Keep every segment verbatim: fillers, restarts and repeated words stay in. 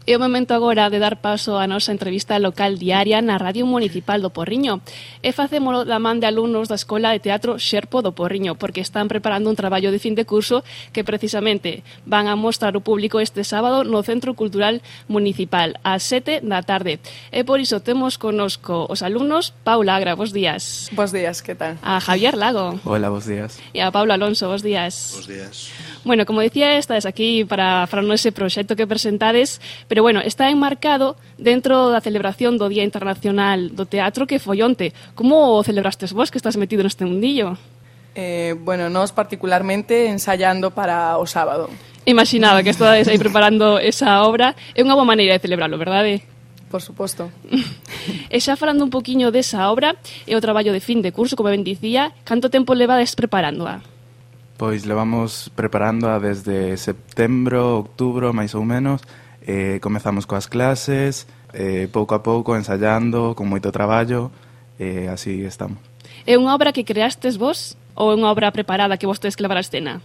É o momento agora de dar paso á nosa entrevista local diaria na Radio Municipal do Porriño. E facémolo da man de alumnos da Escola de Teatro Xerpo do Porriño, porque están preparando un traballo de fin de curso que precisamente van a mostrar ao público este sábado no Centro Cultural Municipal ás sete da tarde. E por iso temos conosco os alumnos Paula Agra, bos días. Bos días, que tal? A Javier Lago. Hola, bos días. E a Pablo Alonso, bos días. Bos días. Bueno, como decía, estades aquí para falarnos ese proxecto que presentades, pero bueno, está enmarcado dentro da celebración do Día Internacional do Teatro que foi onte. Como o celebrastes vos que estás metido neste mundillo? Eh, bueno, nós particularmente ensayando para o sábado. Imaginaba que estades aí preparando esa obra. É unha boa maneira de celebrarlo, verdade? Por suposto. E xa falando un poquinho desa obra, é o traballo de fin de curso, como ben dicía, canto tempo levades preparándoa? Pois levamos preparándoa desde setembro, outubro, máis ou menos. Eh, comezamos coas clases, eh, pouco a pouco, ensayando, con moito traballo, e eh, así estamos. É unha obra que creastes vos ou é unha obra preparada que vos tedes que levar a escena?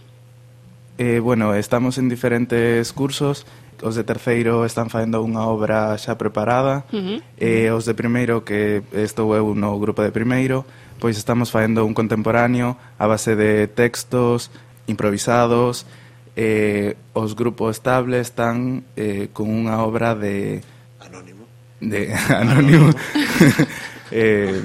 Eh, bueno, estamos en diferentes cursos. Os de terceiro están facendo unha obra xa preparada. Uh-huh. E os de primeiro, que estou eu no grupo de primeiro, pois estamos facendo un contemporáneo a base de textos improvisados. Eh, os grupos estables están eh, con unha obra de... Anónimo. De anónimo. eh,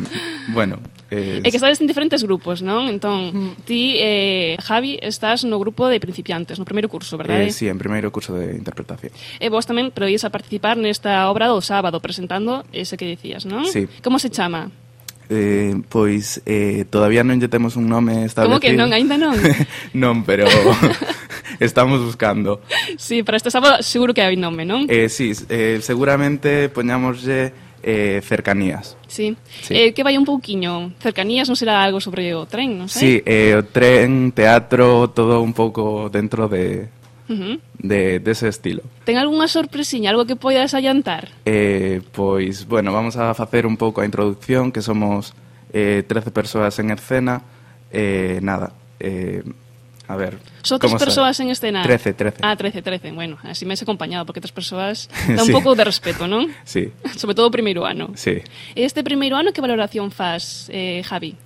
bueno... É que estades en diferentes grupos, non? Entón, ti, eh, Javi, estás no grupo de principiantes, no primeiro curso, verdade? Eh, sí, en primeiro curso de interpretación. E vos tamén proís a participar nesta obra do sábado, presentando ese que dicías, non? Sí. Como se chama? Eh, pois eh, todavía non lle temos un nome establecido. Como que non? Ainda non? Non, pero estamos buscando. Sí, para este sábado seguro que hai nome, non? Eh, sí, eh, seguramente poñámoslle eh, cercanías. Sí. Sí. Eh, que vai un pouquiño. Cercanías non será algo sobre o tren, non sei? Sí, eh, o tren, teatro, todo un pouco dentro de, Uh-huh. de, de ese estilo. Ten algunha sorpresiña, algo que poidas adiantar? Eh, pois, bueno, vamos a facer un pouco a introducción, que somos eh, trece persoas en escena. Eh, nada, eh, a ver... Só tres persoas en escena? Trece, trece. Ah, trece, trece. Bueno, así me has acompañado, porque tres persoas dá un Sí. pouco de respeto, non? Sí, Sobre todo o primeiro ano. sí. E este primeiro ano, que valoración faz, eh, Javi?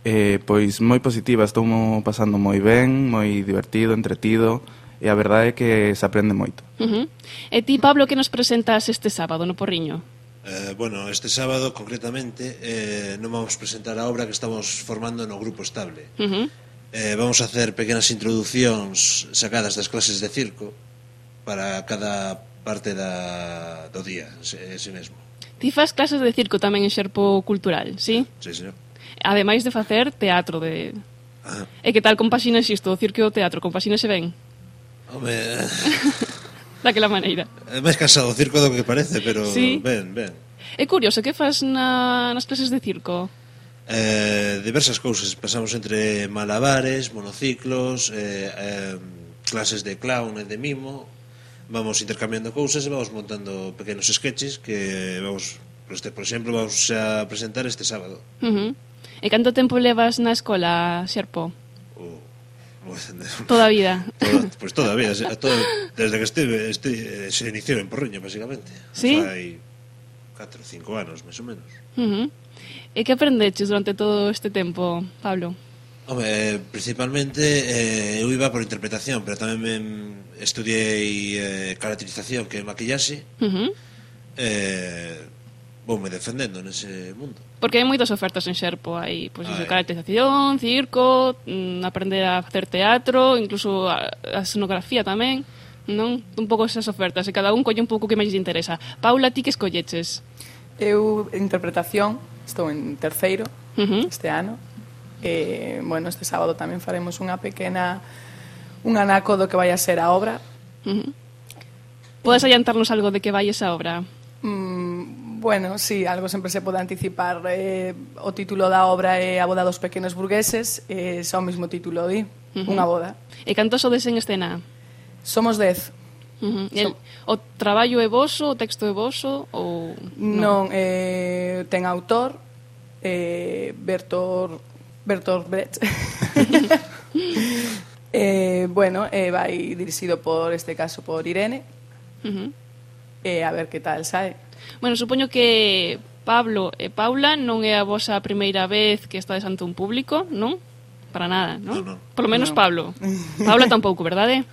Eh, pois moi positiva, estou mo pasando moi ben, moi divertido, entretido, e a verdade é que se aprende moito. Uh-huh. E ti, Pablo, que nos presentas este sábado no Porriño? Eh, bueno, este sábado, concretamente, eh, non vamos presentar a obra que estamos formando no grupo estable. Uh-huh. Eh, vamos a hacer pequenas introducións sacadas das clases de circo para cada parte da, do día, ese mesmo. Ti faz clases de circo tamén en Xerpo Cultural, sí? Sí, señor. Ademais de facer teatro de... Ah, E que tal compaxinas isto, o circo e o teatro? Compaxínase ben? home, Daquela maneira. é máis cansado o circo do que parece, pero Sí. ben, ben. É curioso, que faz na, nas clases de circo? Eh, diversas cousas, pasamos entre malabares, monociclos, eh, eh, clases de clown e de mimo, vamos intercambiando cousas e vamos montando pequenos sketches que vamos, por, este, por exemplo, vamos a presentar este sábado. Uh-huh. E canto tempo levas na escola, Xerpo? O, Toda a vida. Toda, pues toda a vida, se- todo, desde que estive, este, se iniciou en Porriño, basicamente. Sí? Fai catro, cinco anos, máis ou menos. Uh-huh. E que aprendeches durante todo este tempo, Pablo? Home, eh, principalmente eh, eu iba por interpretación, pero tamén me estudiei eh, caracterización, que é maquillaxe. Uh-huh. eh, Voume defendendo nese mundo. Porque hai moitas ofertas en Xerpo, hai pois, iso, Hai. caracterización, circo, mm, aprender a facer teatro, incluso a, a escenografía tamén, non? Un pouco esas ofertas, e cada un colle un pouco que máis lle interesa. Paula, ti que escolleches? Eu, interpretación, estou en terceiro Uh-huh. este ano. E, bueno, este sábado tamén faremos unha pequena un anaco do que vai a ser a obra. Uh-huh. Podes adiantarnos algo de que vai esa obra? Mm, bueno, sí, algo sempre se pode anticipar. Eh, o título da obra é A boda dos pequenos burgueses, e xa o mesmo título di, Uh-huh. unha boda. E cantos sodes en escena? Somos dez. Uh-huh. El, o traballo é voso, o texto é voso ou Non, eh, ten autor, eh, Bertolt Bertolt Brecht. eh, bueno, eh, vai dirixido por, este caso, por Irene. Uh-huh. e a ver que tal sae. Bueno, supoño que Pablo e Paula non é a vosa primeira vez que estades ante un público, non? Para nada, non? No, no. Por lo menos No. Pablo. Paula tampouco, verdade?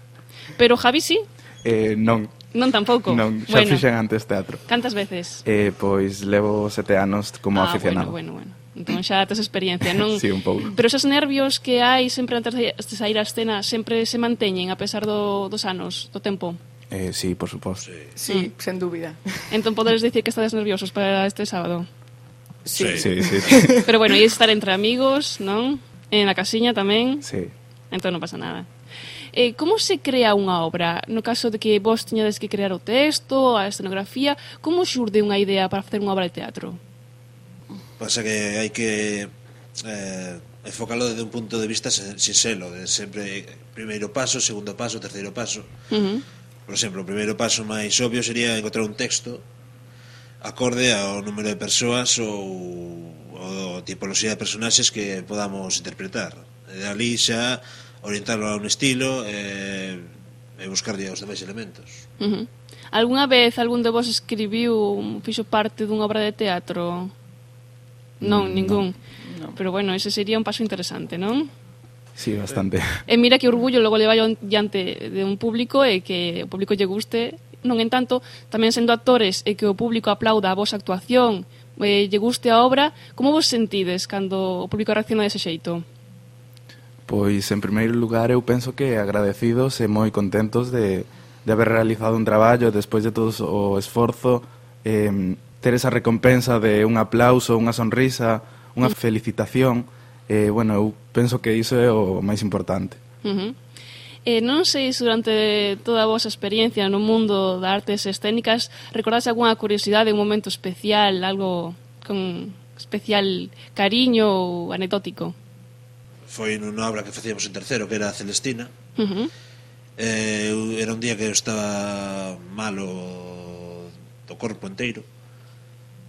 Pero Javi sí? Eh, non, Non tampouco? non, xa Bueno, fixen antes teatro. cantas veces? Eh, pois levo sete anos como ah, aficionado. bueno, bueno, bueno. Entón xa tes experiencia, non? Sí, un pouco. Pero esos nervios que hai sempre antes de sair á escena sempre se manteñen a pesar do, dos anos, do tempo? Eh, sí, por suposto. Sí. Sí, mm. sen dúbida. Entón poderes dicir que estades nerviosos para este sábado? Sí. Sí, sí, sí. Pero bueno, e estar entre amigos, non? En la casiña tamén? Sí. Entón non pasa nada. Eh, como se crea unha obra? No caso de que vos tiñades que crear o texto, a escenografía, como xurde unha idea para facer unha obra de teatro? Pasa que hai que eh, enfocalo desde un punto de vista sinxelo, de sempre primeiro paso, segundo paso, terceiro paso. Uh -huh. Por exemplo, o primeiro paso máis obvio sería encontrar un texto acorde ao número de persoas ou, ou tipoloxía de personaxes que podamos interpretar. E de ali xa orientarlo a un estilo e, e buscarlle os demais elementos. Uh -huh. Alguna vez algún de vos escribiu, fixo parte dunha obra de teatro? Non, Mm, ningún. No. Pero bueno, ese sería un paso interesante, non? Sí, bastante. E mira que orgullo logo le vai diante de un público e que o público lle guste. Non en tanto, tamén sendo actores e que o público aplauda a vosa actuación e lle guste a obra, como vos sentides cando o público reacciona dese xeito? Pois, en primeiro lugar, eu penso que agradecidos e moi contentos de, de haber realizado un traballo despois de todo o esforzo, eh, ter esa recompensa de un aplauso, unha sonrisa, unha felicitación. Eh, bueno, eu penso que iso é o máis importante. Uh -huh. Eh, non sei se durante toda a vosa experiencia no mundo das artes escénicas recordase algunha curiosidade, un momento especial, algo con especial cariño ou anecdótico. Foi nunha obra que facíamos en terceiro, que era a Celestina. Uh -huh. eh, Era un día que eu estaba malo do corpo inteiro.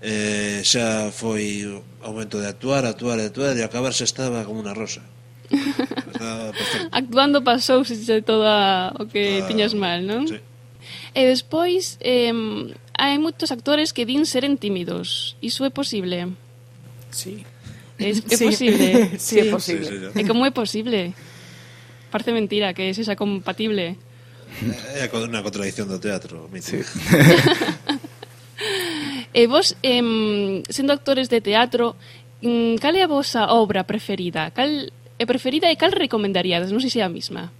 Eh, xa foi o momento de actuar, actuar, actuar, e acabar xa estaba como unha rosa. Estaba perfecto. Actuando pasou se todo o que Ah, tiñas mal, non? Sí. E despois, eh, hai moitos actores que din seren tímidos. Iso é posible? Sí. É, é Sí. posible? Sí, é posible. Sí, sí, sí. E como é posible? Parece mentira que sexa compatible. É unha contradición do teatro, Sí. E vos, eh, sendo actores de teatro, mm, cal é a vosa obra preferida? Cal é preferida e cal recomendaríades? Non sei se é a mesma.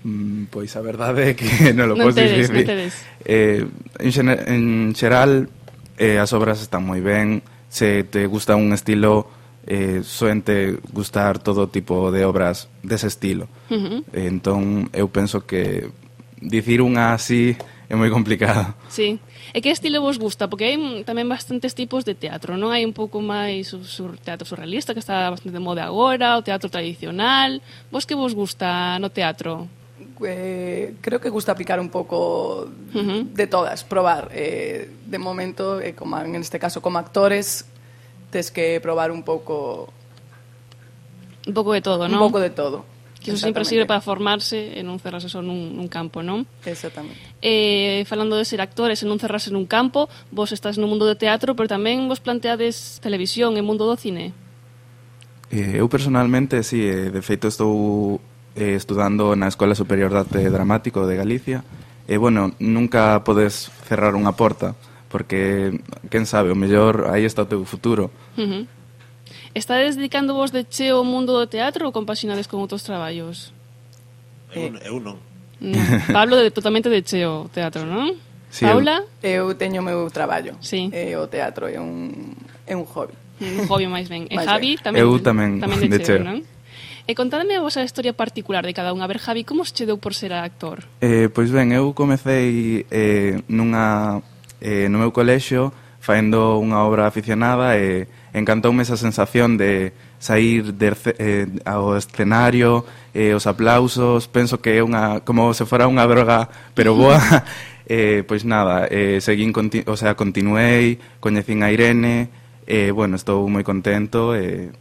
Mm, pois a verdade é que non lo Non posso tedes, dicir. non tedes. Eh, en, xene- en xeral, eh, as obras están moi ben. Se te gusta un estilo, eh, soente gustar todo tipo de obras dese estilo. Uh -huh. Eh, entón, eu penso que dicir unha así é moi complicado. Sí. E que estilo vos gusta? Porque hai mm, tamén bastantes tipos de teatro, non? Hai un pouco máis o sur, teatro surrealista, que está bastante de moda agora, o teatro tradicional. Vos que vos gusta no teatro? Eh, creo que gusta picar un pouco Uh -huh. de todas, probar. Eh, de momento, eh, como en este caso como actores, tes que probar un pouco Un pouco de todo, un non? pouco de todo. Que iso sempre sirve Exactamente. para formarse e non cerrarse só nun, nun campo, non? Exactamente. Eh, falando de ser actores e non cerrarse nun campo, vos estás no mundo do teatro, pero tamén vos planteades televisión e mundo do cine. Eh, eu personalmente, sí, eh, de feito estou eh, estudando na Escola Superior de Arte Dramático de Galicia. E, bueno, nunca podes cerrar unha porta, porque, quen sabe, o mellor aí está o teu futuro. Uh -huh. Estades dedicando vos de cheo ao mundo do teatro ou compaxinades con outros traballos? Eu, eu non. Mm, Pablo, de, totalmente de cheo o teatro, non? Sí, Paula? Eu teño o meu traballo. Sí. E o teatro é un, é un hobby. Un hobby máis ben. E Máis Javi ben. tamén, Eu tamén, tamén de, de cheo, cheo. non? E contadme a vosa historia particular de cada un. A ver, Javi, como se che deu por ser actor? Eh, pois ben, eu comecei eh, nunha, eh, no meu colexio faendo unha obra aficionada e encantoume esa sensación de sair de, eh, ao escenario, eh, os aplausos, penso que é unha como se fora unha droga, pero boa. eh, pois nada, eh, seguín, conti o sea, continuei, coñecín a Irene, e, eh, bueno, estou moi contento e,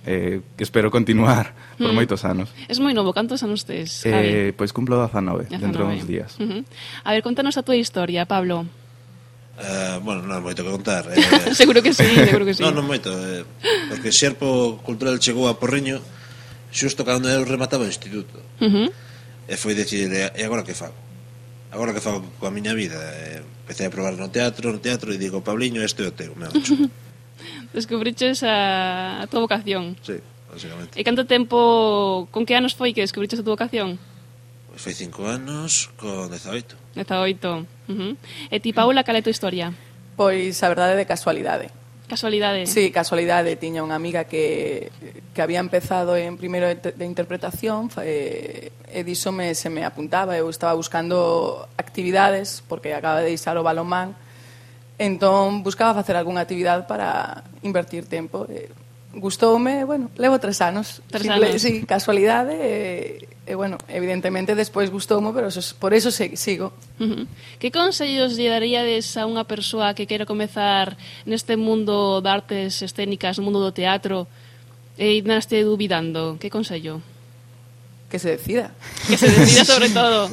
e eh, que espero continuar por Mm. moitos anos. Es moi novo, cantos anos tes, Eh, Javi? pois cumplo dezanove, dentro de dezanove. uns días. Uh -huh. A ver, contanos a túa historia, Pablo. Uh, bueno, non moito que contar. Eh, Seguro que sí, seguro que sí. non, non moito, eh, porque Xerpo Cultural chegou a Porriño xusto cando eu remataba o instituto. Uh -huh. E foi decir, e agora que fago? Agora que fago coa miña vida? E empecé a probar no teatro, no teatro, e digo, Pabliño, este é o teu, me ocho. Descubriches a, a túa vocación. Sí, básicamente. E canto tempo, con que anos foi que descubriches a túa vocación? Pois foi cinco anos con dezaoito. dezaoito. Uh -huh. E ti, Paula, cal é a túa historia? Pois a verdade de casualidade. Casualidade? Sí, casualidade. Tiña unha amiga que, que había empezado en primeiro de, de interpretación e, e diso me, se me apuntaba. Eu estaba buscando actividades porque acaba de deixar o balonmán. Entón, buscaba facer algunha actividade para invertir tempo. E, gustoume, bueno, levo tres anos. Tres Simple, anos. sí, casualidade. E, e, bueno, evidentemente, despois gustoume, pero eso, por eso se, sigo. Uh -huh. Que consellos lle daríades a unha persoa que quere comezar neste mundo de artes escénicas, no mundo do teatro, e ainda este dubidando? Que consello? Que se decida. Que se decida sobre todo.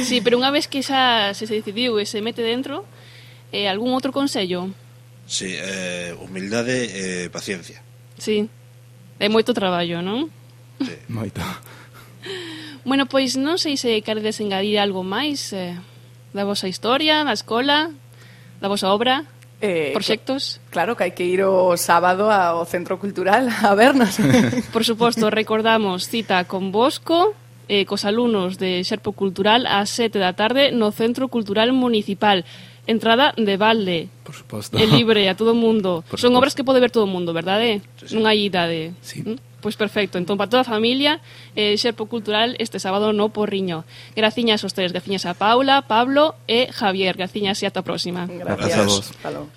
Sí, pero unha vez que xa se, se decidiu e se mete dentro, eh, algún outro consello? Sí, eh, humildade e paciencia. Sí. É moito traballo, non? Sí. Moito. Bueno, pois non sei se queredes engadir algo máis eh, da vosa historia, da escola, da vosa obra, Eh, proxectos. Claro que hai que ir o sábado ao Centro Cultural a vernos. Por suposto, recordamos cita con Bosco, eh, cos alumnos de Xerpo Cultural ás sete da tarde no Centro Cultural Municipal. Entrada de balde. Por suposto. É libre a todo o mundo. Por Son suposto. obras que pode ver todo o mundo, verdade? Sí, sí. Non hai idade. Sí. ¿Mm? Pois perfecto. Entón, para toda a familia, eh, Xerpo Cultural este sábado no Porriño. Graciñas aos tres. Graciñas a Paula, Pablo e Javier. Graciñas e ata a próxima. Gracias. Gracias a vos. Hasta logo.